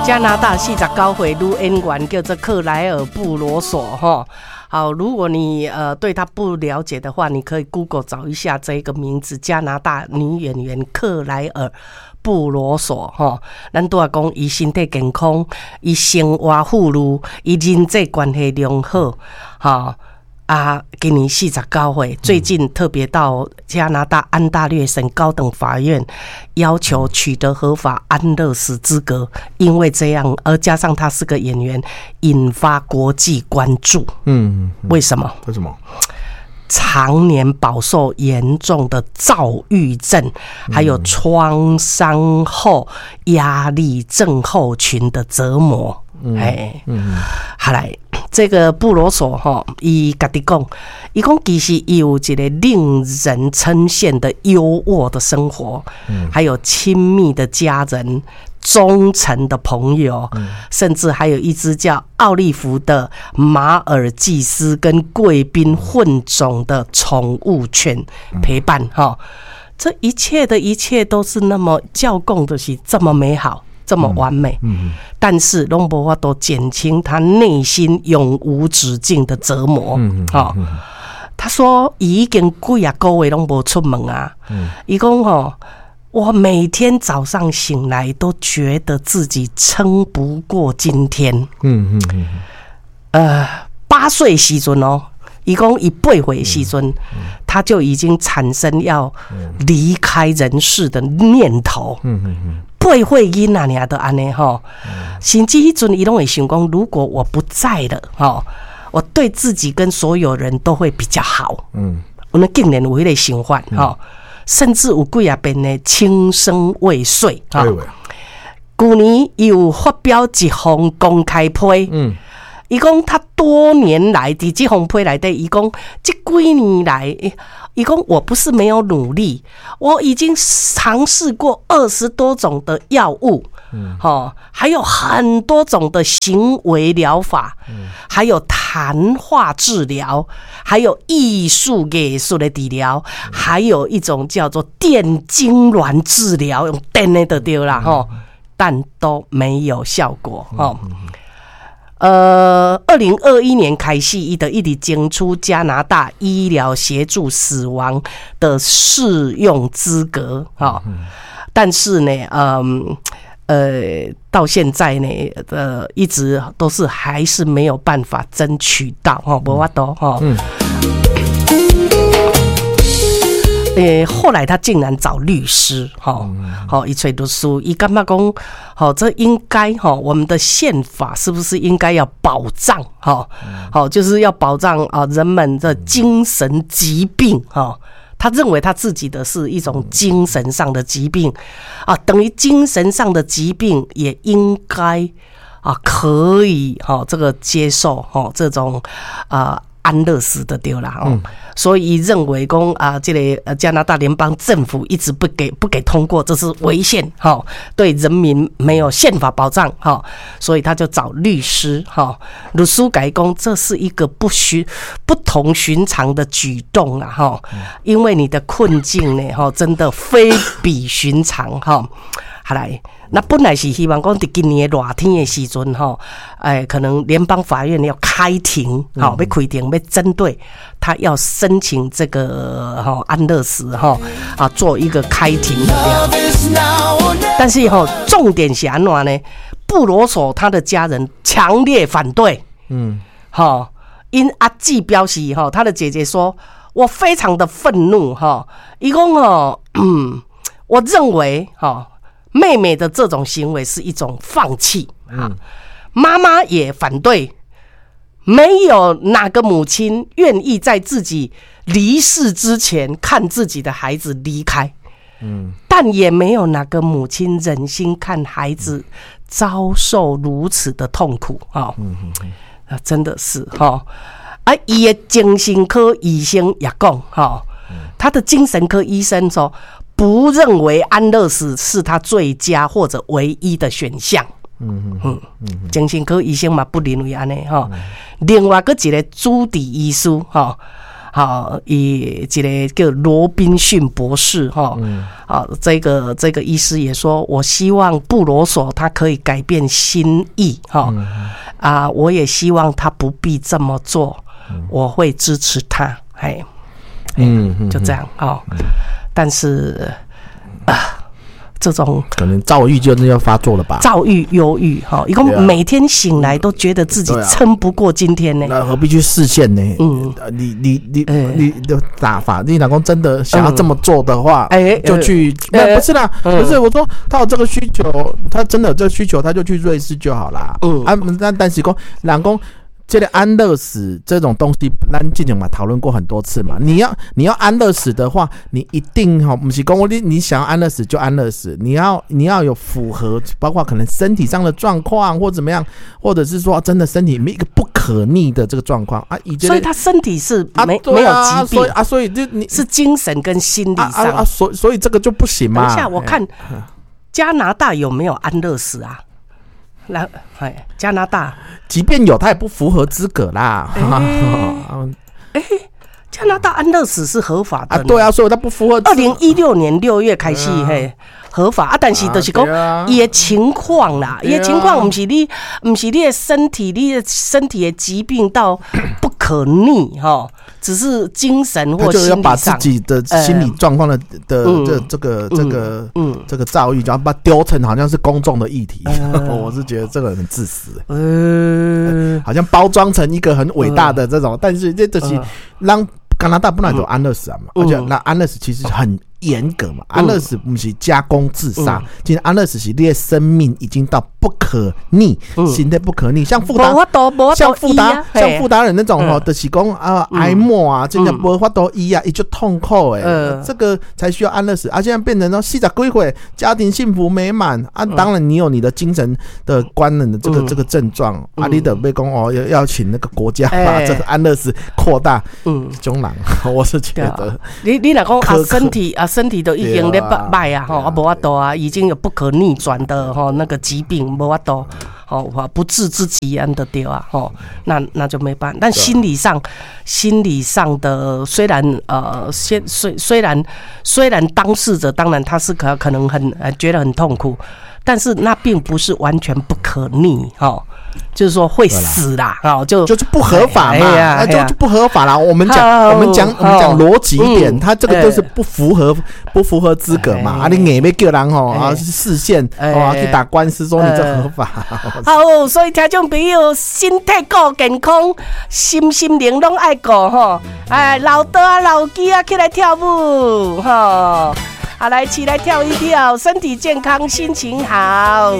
加拿大49歲女演員叫做克萊爾·布羅索哈。好，如果你對她不了解的話，你可以 Google 找一下這個名字，加拿大女演員克萊爾·布羅索吼。咱拄仔講，伊身體健康，伊生活富裕，伊人際關係良好，吼。啊，今年49歲，最近特別到加拿大安大略省高等法院要求取得合法安樂死資格，因為這樣，而加上他是個演員，引發國際關注。為什麼？為什麼？常年飽受嚴重的躁鬱症，還有創傷後壓力症候群的折磨。哎，好來，這個布羅索吼，伊家己講，伊講其實伊有一個令人稱羨的優渥的生活，還有親密的家人、忠誠的朋友，甚至還有一隻叫奧利弗的馬爾濟斯跟貴賓混種的寵物犬陪伴。哈，這一切的一切都是那麼照講的是這麼美好，這麼完美，但是攏無法度減輕他內心永無止境的折磨。吼，他說伊已經幾仔個月攏無出門啊。伊講吼，我每天早上醒來都覺得自己撐不過今天。8歲時陣哦，伊講伊8歲時陣，他就已經產生要離開人世的念頭。8歲囡仔爾都按呢吼，甚至彼陣伊攏會想講，如果我不在了，吼，我對自己跟所有人都會比較好。我們竟然有彼個想法，吼，甚至有幾仔遍呢輕生未遂。吼，舊年伊有發表一封公開批。伊講他多年來佇這封批內底，伊講這幾年來，伊講我不是沒有努力，我已經嘗試過20多種的藥物，吼，還有很多種的行為療法，還有談話治療，還有藝術的治療，還有一種叫做電痙攣治療，用電的就對啦，吼，但都沒有效果，吼。2021年開始，伊就一直爭取加拿大醫療協助死亡的適用資格，哈。但是呢，到現在呢，一直都是還是沒有辦法爭取到，吼，無法度，吼。後來他竟然找律師，吼，吼，伊揣律師，伊感覺講，吼，這應該，吼，我們的憲法是不是應該要保障，吼，好，就是要保障啊人們的精神疾病，吼，他認為他自己的是一種精神上的疾病，啊，等於精神上的疾病也應該啊可以，吼，這個接受，吼，這種啊安樂死的對啦，哦，所以認為講啊，這個加拿大聯邦政府一直不給通過，這是違憲，哈，對人民沒有憲法保障，哈，所以他就找律師，哈，律師共伊講，這是一個不同尋常的舉動啊，哈，因為你的困境呢，哈，真的非比尋常，哈，好來。那本來是希望講佇今年的熱天的時陣吼，哎，可能聯邦法院要開庭，吼，欲開庭，欲針對他要申請這個吼安樂死吼啊，做一個開庭的這樣。但是吼，重點是按怎呢？布羅索他的家人強烈反對，吼，𪜶阿姊表示吼，他的姐姐說，我非常的憤怒，吼，伊講吼，我認為吼，妹妹的這種行為是一種放棄啊，媽媽也反對，沒有哪個母親願意在自己離世之前看自己的孩子離開，但也沒有哪個母親忍心看孩子遭受如此的痛苦啊，啊，真的是哈，啊，伊的精神科醫生也講哈，他的精神科醫生說，不認為安樂死是他最佳或者唯一的選項。精神科醫生嘛不認為按呢吼。另外閣一個主治醫師吼，好，伊一个叫羅賓遜博士吼，啊，這個醫師也說，我希望布羅索他可以改變心意，哈，啊，我也希望他不必這麼做，我會支持他，嘿，就這樣哦，但是啊，這種可能躁鬱就要發作了吧？躁鬱、憂鬱，哈，伊講每天醒來都覺得自己撐不過今天呢。那何必去釋憲呢？你的打法，你老公真的想要這麼做的話，就去。那不是啦，不是我說他有這個需求，他真的有這個需求，他就去瑞士就好啦。啊，那但是講，老公。這個安樂死這種東西，咱之前嘛討論過很多次嘛。你要安樂死的話，你一定哈，不是講我你想要安樂死就安樂死，你要有符合，包括可能身體上的狀況或怎麼樣，或者是說真的身體沒一個不可逆的這個狀況啊。所以他身體是沒有疾病啊，所以就你是精神跟心理上啊，所以這個就不行嘛。等一下，我看加拿大有沒有安樂死啊？來，哎，加拿大，即便有，他也不符合資格啦。哎，加拿大安樂死是合法的啊？對啊，所以他不符合。2016年6月開始，嘿，合法啊，但是就是講伊的情況啦，伊的情況毋是你的身體，你的身體的疾病到不可逆哈，只是精神或心理上，要把自己的心理狀況的這個躁鬱，然後把它丟成好像是公眾的議題，我是覺得這個很自私，好像包裝成一個很偉大的這種，但是這就是讓加拿大本來就安樂死啊嘛，而且那安樂死其實很嚴格嘛，安樂死毋是加工自殺，其實安樂死是你的生命已經到不可逆，身體不可逆，像傅達，像傅達，像傅達仁那種吼，就是講啊，癌末啊，真的無法度醫啊，伊就痛苦誒，這個才需要安樂死啊。現在變成說40幾歲，家庭幸福美滿啊，當然你有你的精神的官能的這個症狀啊，你得被講哦，要請那個國家把這個安樂死擴大，中人，我是覺得，你若講啊，身體啊。身體都已經咧䆀啊，吼啊無法度啊，已經有不可逆轉的吼那個疾病無法度，吼不治之疾按的對啊，吼那就沒辦法。但心理上，心理上的雖然先雖然當事者當然他是可能很覺得很痛苦，但是那並不是完全不可逆，吼。就是說會死啦，哦，就就是不合法嘛，那就不合法啦。我們講邏輯一點，他這個就是不符合資格嘛。啊，你硬欲叫人吼啊，釋憲哦去打官司說你這合法。好，所以聽眾朋友，身體顧健康，身心靈攏愛顧吼。哎，老桌仔老機仔起來跳舞吼，啊，來起來跳一跳，身體健康，心情好。